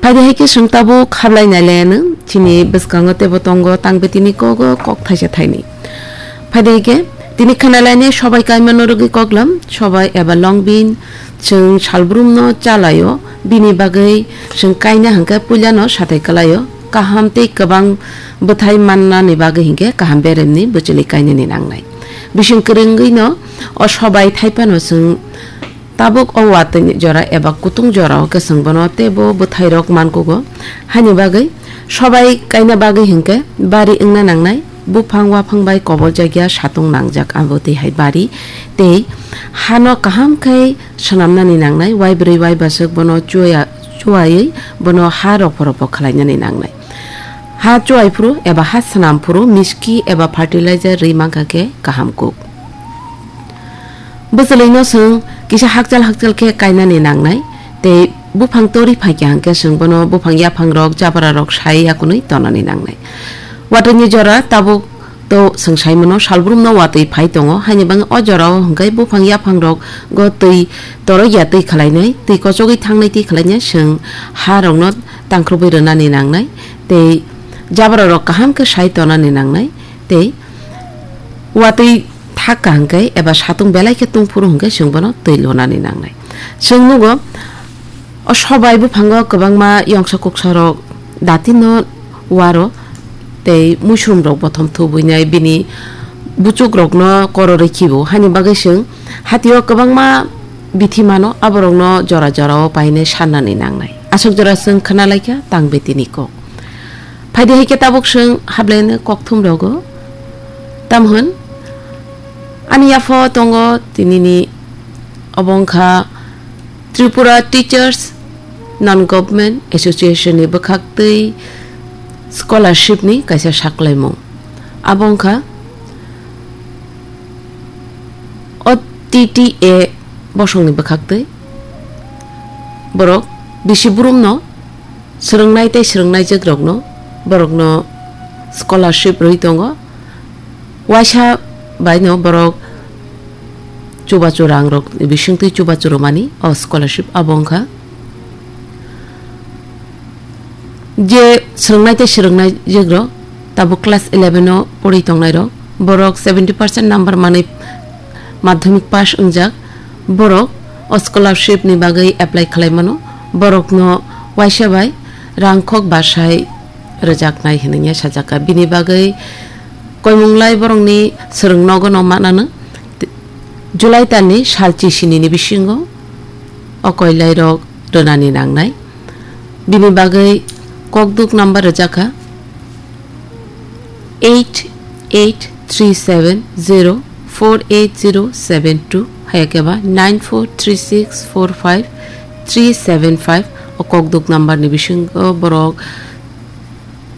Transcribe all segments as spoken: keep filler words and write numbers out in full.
Phaidi hai khe chwng tabuk khablai nai le nwng chini bwskango teibo tongo tang betini kogo kok thaisa thaini. Phaidi hai khe tini khna lainai sobai kaimano rwgwi koklam, sobai eba longbin chwng salbrumno chalaio, bini bagwi chwng kaina hwnkhe puilano sathai kwlaio, kaham tei kwbang bwthai mannani bagwi hinkhe kaham beremni bwchwlwi kainani nangnai. Bising kwrwngwino o sobai thaiphano chwng tabuk o watwi jora eba kutung jorao khe chwng bono teibo bwthairok mankugo. Haini bagwi sobai kaina bagwi hinkhe bari wngna nangnai, buphang waphang bai koboljakya satung nangjak abo twi hai bari tei hano kaham khe swnamnani nangnai, waibrwi waibaswk bono chuya-, chuwaiwi bono ha ropho ropho khlainani nangnai. Ha chuwai phuru eba ha swnam phuru miski eba fertilizer rwi mankha khe kaham kuk. Bwchwlwino chwng kisa hakchal hakchal khe kainani nangnai tei buphang tori phaikha hwnkhe chwng bono buphang yaphangrok jabrarok sai yakunwi tonani nangnai. Watwini jora tabuk to chwng saimano salbrumno watwi phai tongo, haini bagwi o jorao hwnkhe buphang yaphangrokgo twi torokya twi khlainai, twi kochogwi thangnai twi khlainai chwng harokno tangkhrubwi rwnani nangnai tei jabrarok kaham khe sai tonani nangnai tei watwi thak kaham khe eba satung belai khe tungphuru hwnkhe chwng bono twi lunani nangnai. Chwng nugo o sobai buphango kwbangma yongsa kuksarok datino waro tei muisumrok bothom thubwinai bini buchukrokno kororwi khibo, haini bagwi chwng hatio kwbangma bithi mano, aborokno jora jorao painai sannani nangnai. Aswk jora chwng khna laikha tang betini kok. Phaidi hai khe tabuk chwng hablaini kokthum rogo. Tamhwn ani yapho tongo tinini obo wngkha Tripura Teachers Non-Government Association ni bwkhaktwi scholarship ni kaisa saklaimung. Abo wngkha O T T A bosongni bwkhaktwi borok bisi burumno swrwngnai tei swrwngnaijwkrokno borokno scholarship rwui tongo. Waisa baino borok chubachu rangrok bisingtwi chubachu rwmani o scholarship abo wngkha. Je swrwngnai tei swrwngnaijwkrok tabuk class eleven o pori tongnairok, borok seventy percent number manwi madhyamik pass wngjak, borok o scholarship ni bagwi apply khlai mano, borokno waisa bai rangkhok basai rwjaknai hwnwi sajakha. Bini bagwi koimunglai borokni swrwng nogo no mananw, July talni sal chisini ni bisingo o koilairok rwnani nangnai. Bini bagwi kokduk number rwjakha eight eight three seven zero four eight zero seven two, hayakhe ba nine four three six four five three seven five. O kokduk number ni bisingo borok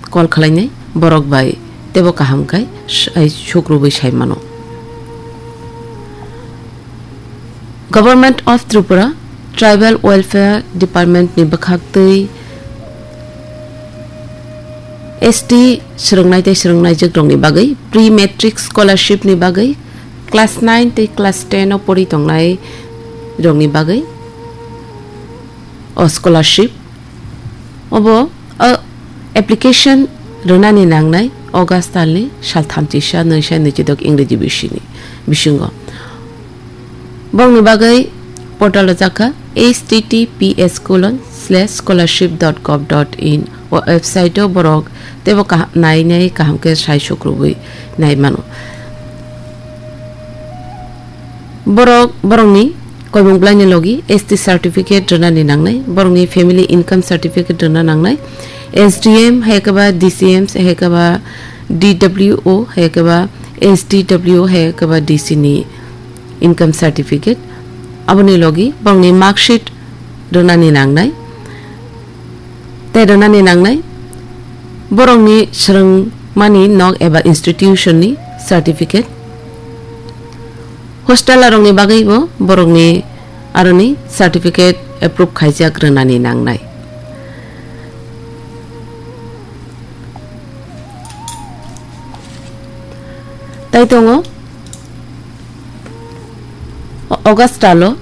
call khlainai, borok bai teibo kaham khai sai sukrubwi sai mano. Government of Tripura Tribal Welfare Department ni bwkhaktwi S T swrwngnai tei swrwngnaijwkrokni bagwi pre-matric scholarship ni bagwi class nine tei class ten o pori tongnai rokni bagwi o scholarship obo, o application rwnani nangnai August talni sal thamchisa nwisa nwichidok Ingreji bisini bisingo. Bongni bagwi portal rwjakha H T T P S colon slash scholarship dot gov dot in. O website o borok teibo kaham, nai nai kaham khe sai sukrubwi nai mano. Borok, borokni koimung bwlaini logi S T certificate rwnani nangnai, borokni family income certificate rwna nangnai, S D M hai khe ba D C M hai khe ba D W O hai khe ba S D W hai khe ba D C ni income certificate, aboni logi borokni mark sheet rwnani nangnai. Tei rwnani nangnai borokni swrwngmani nok eba institution ni certificate. Hostel rokni bagwi bo borokni aroni certificate approve khaijak rwnani nangnai. Tai tongo August talo